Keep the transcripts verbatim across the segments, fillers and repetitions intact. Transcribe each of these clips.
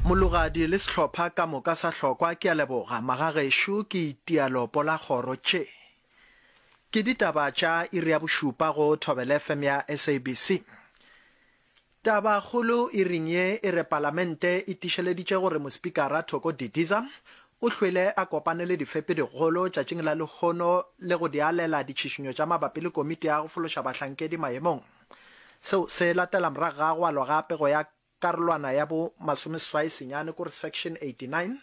Mologadi le sehlopha ka moka sa hlokwa ke a leboga. Magagešo ke itia lopo la kgoro tše. Ke ditaba tša iri ya bošupa go Thobela F M ya S A B C. Tabakgolo iring ye e re palamente e tišeleditše gore mospikara Thoko Didiza o hlwele a kopane le difepi digolo tšatšing la lehono le go di alela ditšhišinyo tša mabapi le komiti ya go fološa bahlankedi maemong. Seo se latela morago ga go alwa ga pego ya karolwana ya bo masomeseswai senyane kore section eighty-nine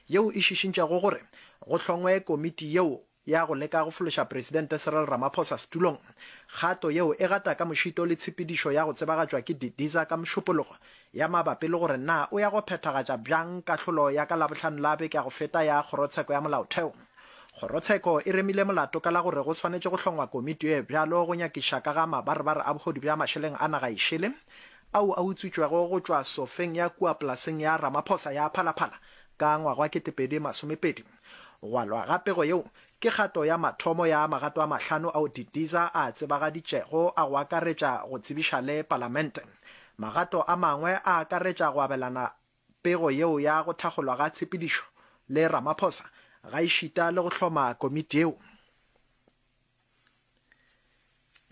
yeo e šišintšego gore go hlongwe komiti yeo ya go leka go fološa Presidente Cyril Ramaphosa setulong. Kgato yeo e gata ka mošito le tshepedišo ya go tsebagatšwa ke Didiza ka mošupologo ya mabapi le gore na o ya go phethagatša bjang kahlolo ya ka Labohlano la beke ya go feta ya Kgorotsheko ya Molaotheo. Kgorotsheko e remile molato ka la gore go swanetše go hlongwa komiti ye bjalo go nyakiša ka ga mabarebare a bohodu bja mašeleng a naga e šele ao a utswitšwego go tšwa sofeng ya kua polaseng ya Ramaphosa ya Phalaphala ka ngwaga wa ketepedi masomepedi. Go alwa ga pego yeo ke kgato ya mathomo ya magato a mahlano ao Didiza a tsebagaditšego a go akaretša go tsebiša le palamente. Magato a mangwe a akaretša go abelana pego yeo ya go thakgolwa ga tshepedišo le Ramaphosa gaešita le go hloma komiti yeo.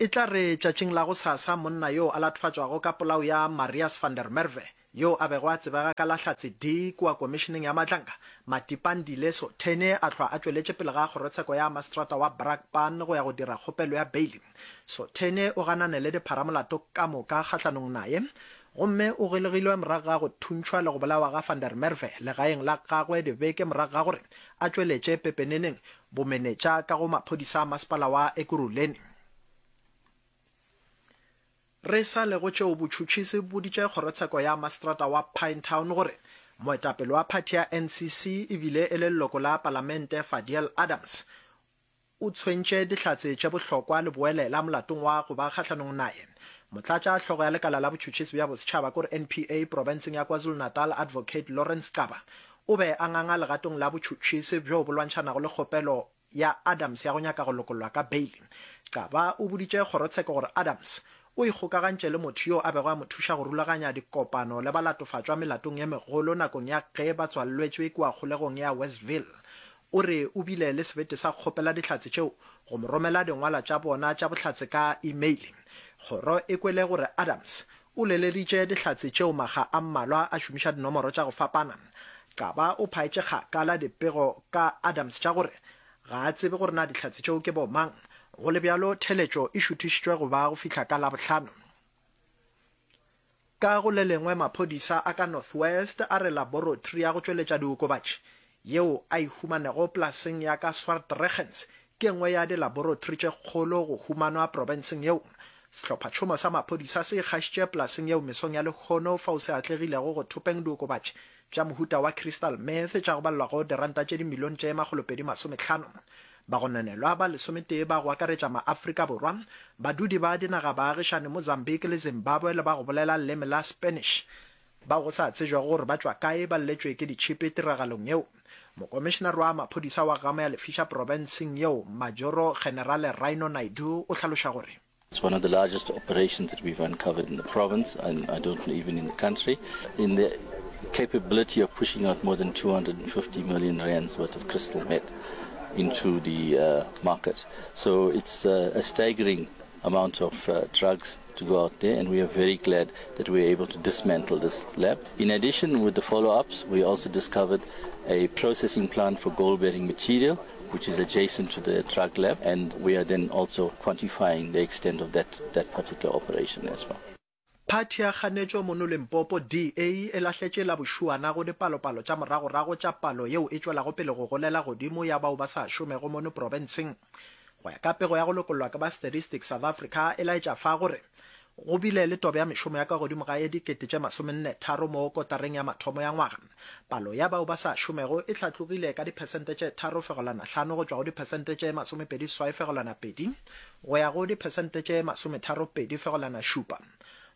E tla re tšatšing la gosasa monna yo a latofatšwago ka polao ya Marius van der Merwe yo a bego a tsebega ka la Hlatse D kua komišeneng ya Madlanga, Matipandile Sothene a hlwa a tšweletše pele ga kgorotsheko ya maseterata wa Brakpan go ya go dira kgopelo ya beili. Sothene o ganane le dipharamolato ka moka kgahlanong naye gomme o golegilwe morago ga go thuntšhwa le go bolawa ga van der Merwe legaeng la gagwe dibeke morago ga gore a tšweletše pepeneneng bomenetša ka go maphodisa a masepala wa Ekurhuleni. Re sa le go tšeo botšhotšhisi boditše kgorotsheko ya maseterata wa Pinetown gore moetapele wa phathi ya N C C ebile e le leloko la palamente Fadiel Adams o tshwentše dihlatse tše bohlokwa le boelela molatong wa go ba kgahlanong naye. Motlatša hlogo ya lekala la botšhotšhisi bja bosetšhaba kore N P A profenseng ya KwaZulu-Natal Advocate Lawrence Xaba o be a nganga legatong la botšhotšhisi bjo bo lwantšhanago le kgopelo ya Adams ya go nyaka go lokollwa ka beili. Xaba o boditše kgorotsheko gore Adams o ikgokagantše le motho yo a bego a mo thuša go rulaganya dikopano le balatofatšwa melatong ye megolo nakong ya ge ba tswalletšwe kua kgolegong ya Westville. O re o bile le sebete sa kgopela dihlatse tšeo go mo romela dingwalwa tša bona tša bohlatse ka email. Kgoro e kwele gore Adams o leleditše dihlatse tšeo makga a mmalwa a šomiša dinomoro tša go fapana. Xaba o phaetše kgakala dipego ka Adams tša gore ga a tsebe gore na dihlatse tšeo ke bomang. Go le bjalo theletšo e šuthišitšwe go ba go fihla ka Labohlano. Ka go le lengwe maphodisa a ka North West a re laboratory ya go tšweletša diokobatši yeo a e humanego polaseng ya ka Swartregens ke nngwe ya dilaboratory tše kgolo go humanwa profenseng yeo. Sehlophatšhomo sa maphodisa se ikgašitše polaseng yeo mesong ya lehono fao se atlegilego go thopeng diokobatši tša mohuta wa crystal meth tša go balelwa go diranta tše dimilione tše makgolopedi masomehlano. Bagononelwa ba lesometee ba go akaretša maAfrika Borwa, badudi ba dinaga baagišane Mozambique le Zimbabwe le ba go bolela leleme la Spanish bao go sa tsejwago gore ba tšwa kae ba lletšwe ke ditšhipi tiragalong yeo. Mokomišenare wa maphodisa wa Gamo ya Lefisha profenseng yeo Majoro Generale Rhino Naidoo o hlaloša gore It's one of the largest operations that we've uncovered in the province and I don't know even in the country, in the capability of pushing out more than two hundred and fifty million rands worth of crystal meth into the, uh, market. So it's, uh, a staggering amount of, uh, drugs to go out there, and we are very glad that we were able to dismantle this lab. In addition, with the follow-ups, we also discovered a processing plant for gold-bearing material, which is adjacent to the drug lab, and we are then also quantifying the extent of that, that particular operation as well. Phathi ya kganetšo mono Limpopo, D A, e lahletše la bošuana go dipalopalo tša moragorago tša palo yeo e tšwelago pele go golela godimo ya bao ba sa šomego mono profenseng. Go ya ka pego ya go lokollwa ke ba Statistics South Africa e laetša fa gore go bile le tobo ya mešomo ya ka godimo ga ye dikete tše masomenne tharo mo kotareng ya mathomo ya ngwaga. Palo ya bao ba sa šomego e hlatlogile ka diphesente tše tharo fegelwana hlano go tšwa go diphesente tše masomepedi seswai fegelwana pedi go ya go diphesente tše masometharo pedi fegelwana šupa.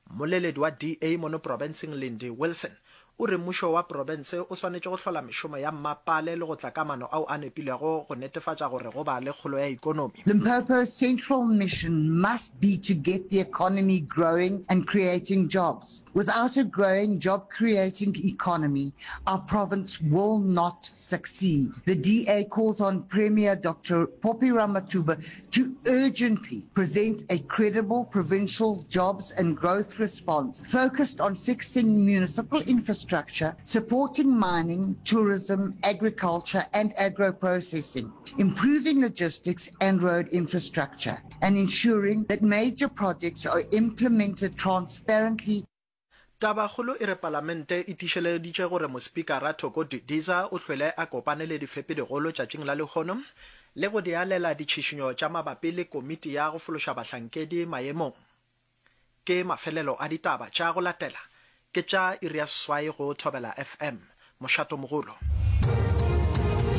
Mmoleledi wa D A mono profenseng Lindy Wilson o re mmušo wa profense o swanetše go hlola mešomo ya mmapale le go tla ka maano ao a nepilego go netefatša gore go ba le kgolo ya ikonomi. Limpopo's central mission must be to get the economy growing and creating jobs. Without a growing job-creating economy, our province will not succeed. The D A calls on Premier Doctor Phophi Ramathuba to urgently present a credible provincial jobs and growth response focused on fixing municipal infrastructure, supporting mining, tourism, agriculture and agro-processing, improving logistics and road infrastructure, and ensuring that major projects are implemented transparently. Tabakgolo e re Palamente e tiišeleditše gore Mospikara Thoko Didiza o hlwele a kopane le difepedigolo tšatšing la lehono le go di alela ditšhišinyo tša mabapi le komiti ya go fološa bahlankedi maemong. Ke mafelelo a ditaba tša go latela ke tša iri ya seswai go Thobela F M. Mošatomogolo.